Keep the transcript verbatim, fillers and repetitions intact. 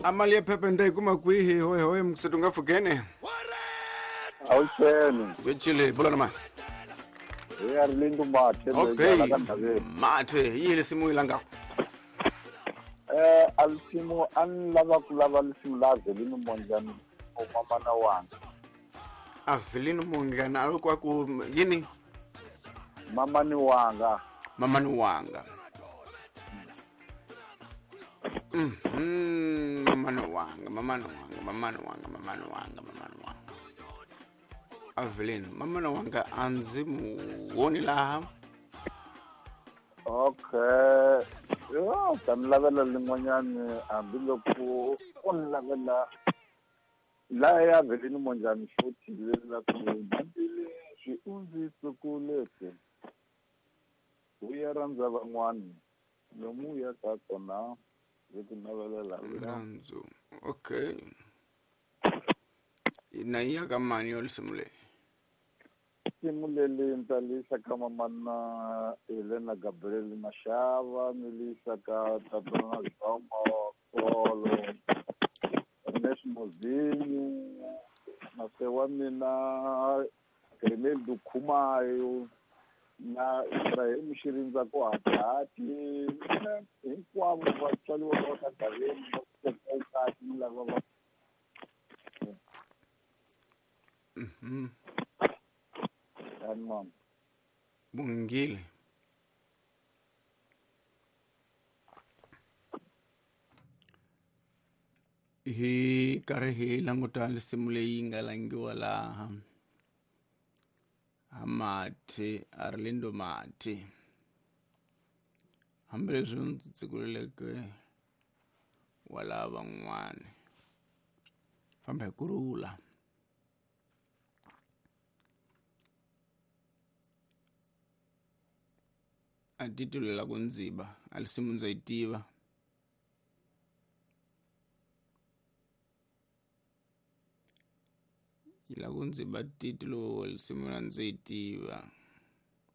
A mali ya phepha ni ta yi kuma kwihi hoye hoye muksetu nga fukene. Awuxeni. Vechile bula na mani. Hi ya Rilindu Mathe. Okay. Mathe yi lisimu yi langa. Eh a lisimu a ni lava ku lava lisimu la Avelino Mondlane o mamana wanga. Avelino Mondlane a loko ku yini? Mamani wanga. Mamani wanga. Mhm, mamani wanga, mamani wanga, mamani wanga, mamani wanga, mamani wanga. Avelino, mamani wanga a ndzi mu voni laha. Okay. Yo, ta mi lavela lin'wanyani hambiloko u ni lavela la ya Avelino Mondlane futhi leri la ku hambileswi u ndzi tsukuleke u ya rhandza van'wani lomu u yaka kona ndzi ku navelela rirhandzu. Okay. Na yi ya ka mani yo lisimu leyi? Lisimu leri ni ta li yisa ka mamana Helena Gabriel Mashava, ni li yisa ka tatana Zombo Kolo, Ernest Mozinho, na se wa mina Greneldo Khumayo na Ibrahim Xirindza ku Hatihati, hinkwavo vatswari va ka Gaveni va kahle ni lava va. Mhm. Mama. Bungile. Hi karhi hi languta lisimu leyi nga langiwa laha. Mathe Arlindo Mathe. Hambileswi ndzi tsikuleleke wala van'wani. Famba hi kurhula. A titulela ku ndziba a lisimu ndza yi tiva. Yi la ku ndziba titulo lisimu la ndzi yi tiva.